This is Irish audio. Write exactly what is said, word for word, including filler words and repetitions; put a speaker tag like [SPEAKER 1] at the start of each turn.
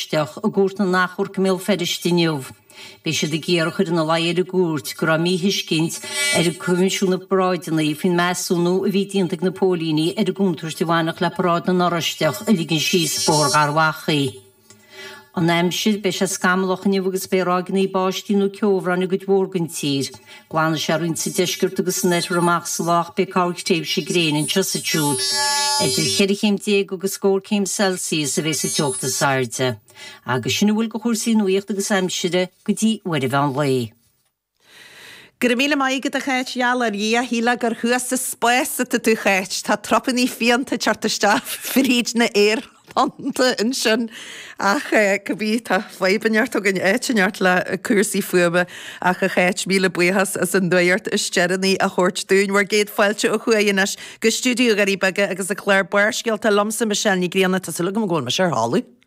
[SPEAKER 1] Oráisteach i gCúirt na nAchomharc i mBéal Feirste inniu. Beidh siad ag iarraidh a chur ina luí ar an gcúirt go raibh míthuiscint ar Choimisiún na bParáideanna faoin measúnú a bhí déanta ag na póilíní ar an gcontúirt a bhainfeadh le Paráid na nOráisteach a ligean síos Bóthar Gharbhachaidh. An aimsir, Beidh sé scamallach inniu agus beidh ráigeanna báistí nó ceobhráin i gcuid mhór den tír. Glanfaidh sé roinnt sa deisceart agus san oirthear amach sa lá ach beidh corrthréimhse gréine anseo is ansiúd. Idir cheithre chéim déag agus scór céim Celsius a bheidh sa teocht is airde. Agus sin a bhfuil de chúrsaí nuachta agus aimsire go dtí uair an mheán lae.
[SPEAKER 2] Go raibh míle maith agat a Cháit, gheall ar Dhia, shílfeá gur thuas sa spás atá tú a Cháit, tá trupannaí fiánta ag teacht isteach fríd na haerthonnta ansin ach cibé tá fadhb inteacht againn áit inteacht le cúrsaí fuaime ach a Cháit, míle buíochas as an nuacht is deireanaí a thabhairt dúinn. Bhur gcéad fáilte ó thuaidh anois go stiúideo Dhoirí Beaga agus an clár Barrscéalta liomsa Michelle Ní Ghrianna, tá súil agam go bhfuil mise ar thalamh.